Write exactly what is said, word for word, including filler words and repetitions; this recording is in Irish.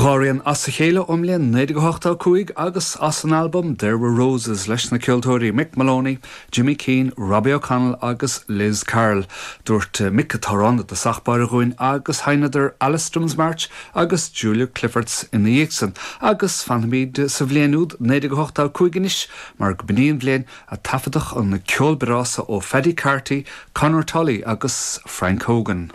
Dhá rian as a chéile ón mbliain naoi déag ochtó a cúig agus as an albam There Were Roses leis na ceoltóirí Mick Moloney, Jimmy Keane, Robbie O'Connell agus Liz Carroll. Dúirt Mick an t-amhrán i dtosach báire dhúinn agus sheinneadar Alström's March agus Julia Clifford's ina dhiaidh san, agus fanfaimid sa bhliain úd naoi déag ochtó a cúig anois mar go b'in í an bhliain a taifeadadh an ceol breá seo ó Paddy Carty, Conor Tully agus Frank Hogan.